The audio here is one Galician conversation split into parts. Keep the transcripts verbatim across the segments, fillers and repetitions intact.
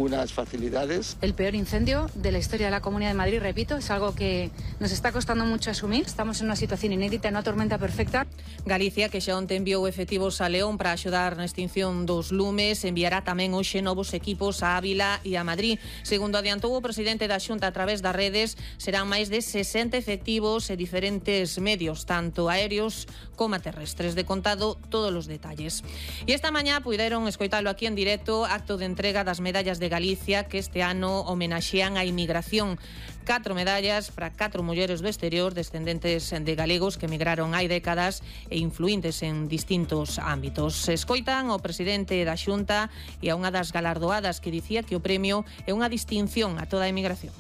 Unas facilidades. El peor incendio de la historia de la Comunidad de Madrid, repito, es algo que nos está costando mucho asumir. Estamos en una situación inédita, en una tormenta perfecta. Galicia, que xa onte enviou efectivos a León para axudar na extinción dos lumes, enviará tamén hoxe novos equipos a Ávila e a Madrid. Segundo adiantou o presidente da Xunta a través das redes, serán máis de sesenta efectivos e diferentes medios, tanto aéreos como terrestres. De contado todos os detalles. E esta mañá puideron escoitalo aquí en directo, acto de entrega das medallas de Galicia que este ano homenaxean a inmigración. Catro medallas para catro mulleres do exterior descendentes de galegos que emigraron hai décadas e influíntes en distintos ámbitos. Se escoitan o presidente da Xunta e a unha das galardoadas que dicía que o premio é unha distinción a toda a emigración.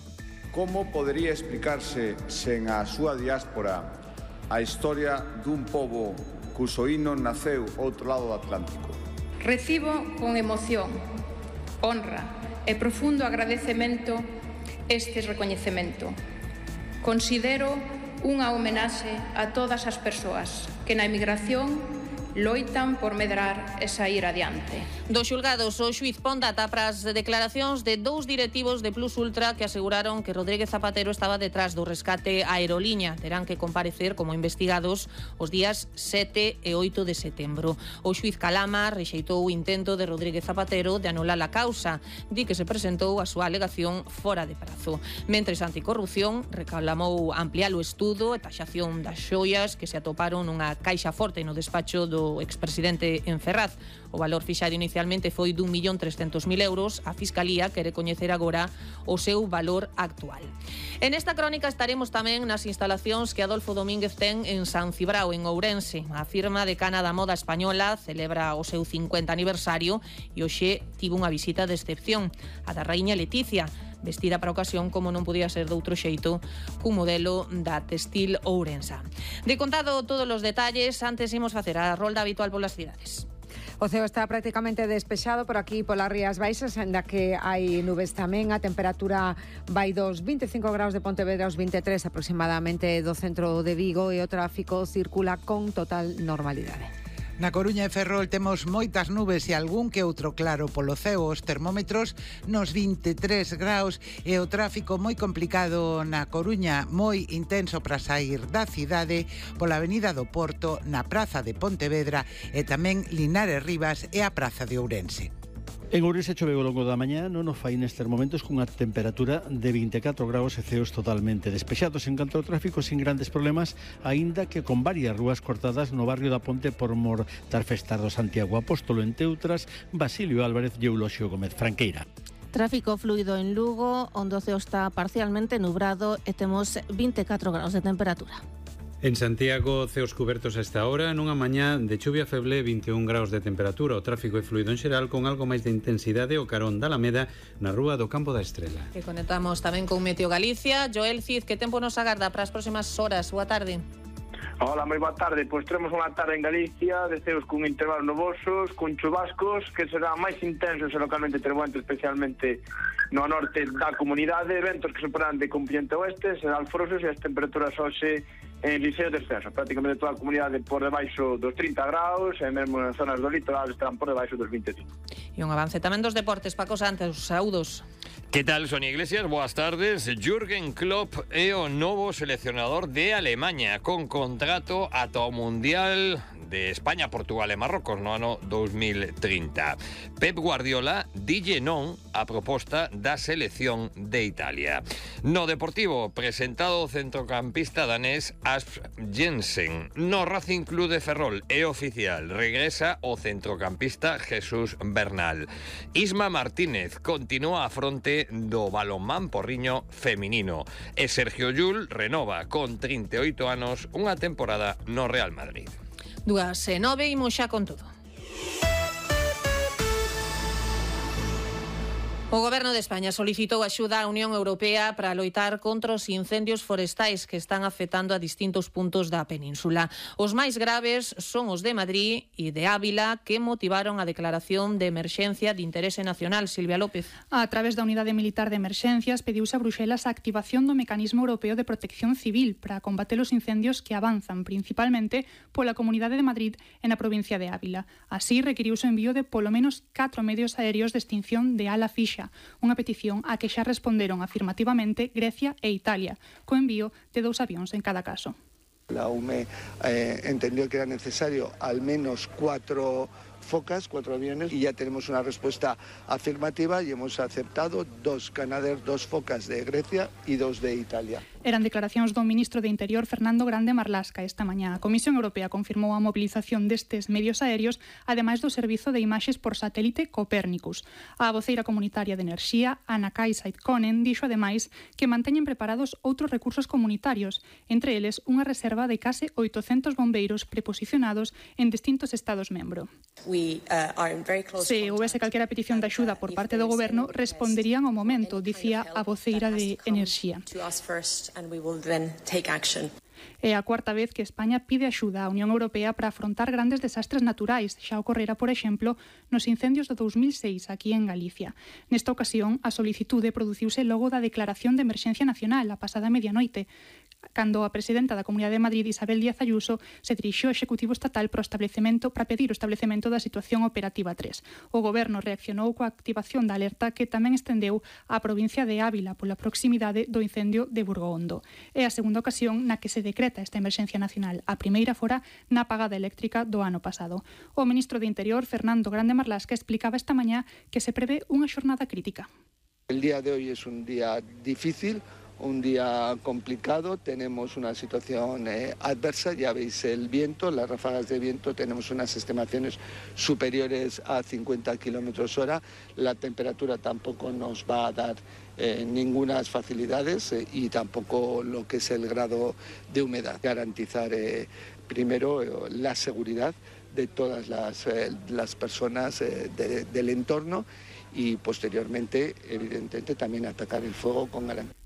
Como podería explicarse sen a súa diáspora a historia dun pobo cuso hino naceu outro lado do Atlántico? Recibo con emoción, honra e profundo agradecemento este recoñecemento. Considero unha homenaxe a todas as persoas que na emigración loitan por medrar e sair adiante. Dos xulgados, o xuiz pon data para as declaracións de dous directivos de Plus Ultra que aseguraron que Rodríguez Zapatero estaba detrás do rescate a aeroliña. Terán que comparecer como investigados os días sete e oito de setembro. O xuiz Calama rexeitou o intento de Rodríguez Zapatero de anular a causa. Di que se presentou a súa alegación fora de prazo. Mentres Anticorrupción reclamou ampliar o estudo e taxación das xoias que se atoparon nunha caixa forte no despacho do o expresidente en Ferraz. O valor fixado inicialmente foi dun millón trescentos mil euros. A Fiscalía quere coñecer agora o seu valor actual. En esta crónica estaremos tamén nas instalacións que Adolfo Domínguez ten en San Cibrao, en Ourense. A firma decana da moda española celebra o seu cincuenta aniversario e hoxe tivo unha visita de excepción, a da raíña Leticia, vestida para a ocasión como non podía ser de outro xeito cun modelo da textil ourensa. De contado todos os detalles, antes imos facer a rolda habitual polas cidades. O ceo está prácticamente despexado por aquí polas Rías Baixas, ainda que hai nubes tamén. A temperatura vai dos vinte e cinco graus de Pontevedra aos vinte e tres aproximadamente do centro de Vigo e o tráfico circula con total normalidade. Na Coruña e Ferrol temos moitas nubes e algún que outro claro polo ceo. Os termómetros nos vinte e tres graus e o tráfico moi complicado na Coruña, moi intenso para sair da cidade pola Avenida do Porto, na Praza de Pontevedra e tamén Linares Rivas e a Praza de Ourense. En Ourense choveu ao longo da mañá, non o fai nestes momentos cunha temperatura de vinte e catro graus e ceos totalmente despexados. En canto ao tráfico, sin grandes problemas, aínda que con varias rúas cortadas no barrio da Ponte por mor das festas do Santiago Apóstolo, entre outras, Basilio Álvarez e Euloxio Gómez Franqueira. Tráfico fluido en Lugo, onde o ceo está parcialmente nubrado e temos vinte e catro graus de temperatura. En Santiago, ceos cubertos a esta hora, nunha mañá de chuvia feble, vinte e un graus de temperatura. O tráfico é fluido en xeral con algo máis de intensidade o carón da Alameda na rúa do Campo da Estrela. E conectamos tamén con Meteo Galicia. Joel Cid, que tempo nos agarda para as próximas horas? Boa tarde. Hola, moi boa tarde. Pois teremos unha tarde en Galicia de ceos con intervalos nubosos, con chubascos que serán máis intensos e localmente tremoentos, especialmente no norte da comunidade, ventos que superan de componente oeste, serán alforosos e as temperaturas hoxe en Liceo descenso, prácticamente toda a comunidade por debaixo dos trinta graus e mesmo en zonas do litoral estarán por debaixo dos vinte e cinco. E un avance tamén dos deportes, Paco Santos, saúdos. Que tal, Sonia Iglesias? Boas tardes. Jürgen Klopp é o novo seleccionador de Alemanha con contrato ata o Mundial de España, Portugal e Marrocos no ano dos mil trinta. Pep Guardiola dille non a proposta da selección de Italia. No Deportivo, presentado o centrocampista danés Asp Jensen. No Racing Club de Ferrol é oficial, regresa o centrocampista Jesús Bernal. Isma Martínez continúa a fronte do balonmán porriño feminino e Sergio Llull renova con trinta e oito anos unha temporada no Real Madrid. Dúas e nove, imos xa con todo. O Goberno de España solicitou axuda á Unión Europea para loitar contra os incendios forestais que están afectando a distintos puntos da península. Os máis graves son os de Madrid e de Ávila, que motivaron a declaración de emerxencia de interese nacional. Silvia López. A través da Unidade Militar de Emerxencias pediuse a Bruxelas a activación do Mecanismo Europeo de Protección Civil para combater os incendios que avanzan principalmente pola Comunidade de Madrid e na provincia de Ávila. Así, requiriuse o envío de polo menos catro medios aéreos de extinción de ala fixa Grexa, unha petición a que xa responderon afirmativamente Grecia e Italia, co envío de dous avións en cada caso. La U M E eh, entendió que era necesario al menos cuatro focas, cuatro aviones, y ya tenemos una respuesta afirmativa y hemos aceptado dos Canadair, dos focas de Grecia y dos de Italia. Eran declaracións do ministro de Interior Fernando Grande Marlaska esta mañá. A Comisión Europea confirmou a mobilización destes medios aéreos, ademais do servizo de imaxes por satélite Copérnicus. A voceira comunitaria de Enerxía, Anna Kajsa-Ikonen, dixo ademais que manteñen preparados outros recursos comunitarios, entre eles unha reserva de case oitocentos bombeiros preposicionados en distintos estados membro. We, uh, are in very close Se houvese calquera petición de axuda por parte do goberno, responderían ao momento, dicía a voceira de Enerxía. É a cuarta vez que España pide axuda á Unión Europea para afrontar grandes desastres naturais. Xa ocorrera, por exemplo, nos incendios do dos mil seis aquí en Galicia. Nesta ocasión, a solicitude produciuse logo da declaración de emerxencia nacional a pasada medianoite, cando a presidenta da Comunidade de Madrid, Isabel Díaz Ayuso, se dirixiu ao Executivo Estatal para, o establecemento, para pedir o establecemento da situación operativa tres. O Goberno reaccionou coa activación da alerta que tamén estendeu á provincia de Ávila pola proximidade do incendio de Burgohondo. É a segunda ocasión na que se decreta esta emerxencia nacional. A primeira fora na apagada eléctrica do ano pasado. O ministro de Interior, Fernando Grande Marlaska, explicaba esta mañá que se prevé unha xornada crítica. El día de hoy es un día difícil, un día complicado, tenemos una situación eh, adversa, ya veis el viento, las ráfagas de viento, tenemos unas estimaciones superiores a cincuenta kilómetros hora, la temperatura tampoco nos va a dar eh, ningunas facilidades eh, y tampoco lo que es el grado de humedad. Garantizar eh, primero eh, la seguridad de todas las, eh, las personas eh, de, del entorno y posteriormente, evidentemente, también atacar el fuego con garantía.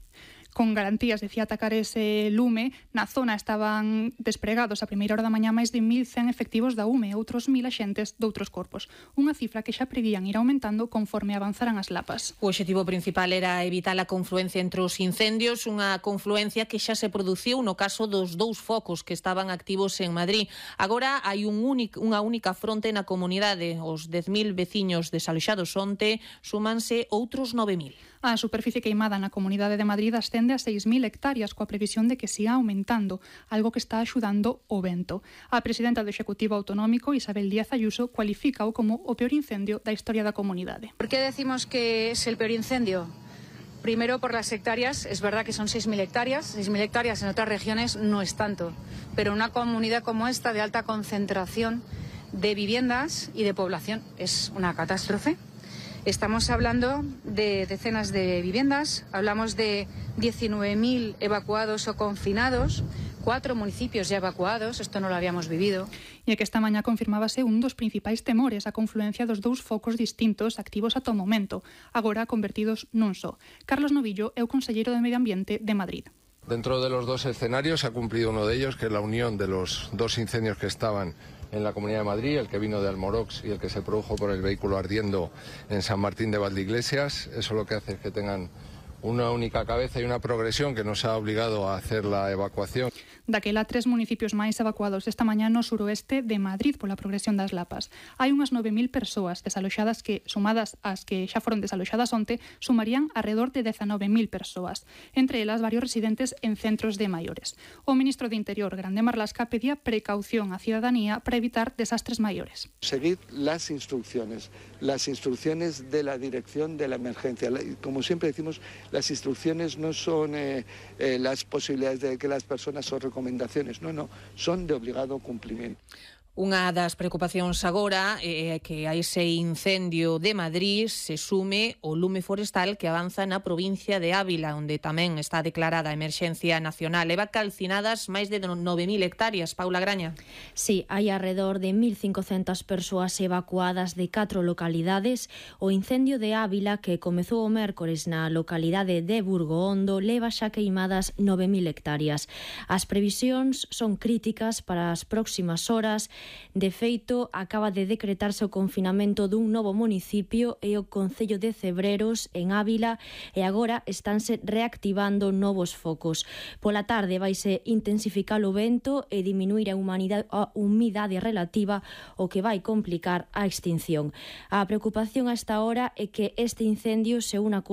Con garantías, decía, atacar ese lume. Na zona estaban despregados a primeira hora da mañá máis de mil cen efectivos da U M E e outros mil axentes doutros corpos. Unha cifra que xa prevían ir aumentando conforme avanzaran as lapas. O obxectivo principal era evitar a confluencia entre os incendios, unha confluencia que xa se produciu no caso dos dous focos que estaban activos en Madrid. Agora hai un único, unha única fronte na comunidade. Os dez mil veciños desaloxados onte súmanse outros nove mil. A superficie queimada na Comunidade de Madrid ascende a seis mil hectáreas, coa previsión de que siga aumentando, algo que está axudando o vento. A presidenta do Executivo Autonómico, Isabel Díaz Ayuso, cualifícao como o peor incendio da historia da comunidade. ¿Por qué decimos que es el peor incendio? Primero, por las hectáreas. Es verdad que son seis mil hectáreas. seis mil hectáreas en otras regiones no es tanto. Pero una comunidad como esta, de alta concentración de viviendas y de población, es una catástrofe. Estamos hablando de decenas de viviendas, hablamos de diecinueve mil evacuados o confinados, cuatro municipios ya evacuados, esto no lo habíamos vivido. E que esta mañá confirmábase un dos principais temores, a confluencia dos dous focos distintos activos ata o momento, agora convertidos nun só. Carlos Novillo é o conselleiro de Medio Ambiente de Madrid. Dentro de los dos escenarios ha cumplido uno de ellos, que es la unión de los dos incendios que estaban en la Comunidad de Madrid, el que vino de Almorox y el que se produjo por el vehículo ardiendo en San Martín de Valdeiglesias. Eso lo que hace es que tengan una única cabeza y una progresión que nos ha obligado a hacer la evacuación. Daquela, tres municipios máis evacuados esta mañá no suroeste de Madrid pola progresión das lapas. Hai unhas nove mil persoas desaloxadas que, sumadas ás que xa foron desaloxadas onte, sumarían alrededor de dezanove mil persoas, entre elas varios residentes en centros de maiores. O ministro de Interior, Grande Marlaska, pedía precaución á ciudadanía para evitar desastres maiores. Seguid las instrucciones, las instrucciones de la dirección de la emergencia. Como siempre decimos, las instrucciones no son eh, eh, las posibilidades de que las personas o recomendaciones, no, no, son de obligado cumplimiento. Unha das preocupacións agora é que a ese incendio de Madrid se sume o lume forestal que avanza na provincia de Ávila, onde tamén está declarada a emerxencia nacional. Leva calcinadas máis de nove mil hectáreas. Paula Graña. Sí, hai alrededor de mil cincocentas persoas evacuadas de catro localidades. O incendio de Ávila, que comezou o mércores na localidade de Burgohondo, leva xa queimadas nove mil hectáreas. As previsións son críticas para as próximas horas De feito, acaba de decretarse o confinamento dun novo municipio e o Concello de Cebreros, en Ávila, e agora estánse reactivando novos focos. Pola tarde vaise intensificar o vento e diminuir a, humanidade, a humidade relativa, o que vai complicar a extinción. A preocupación a esta hora é que este incendio se una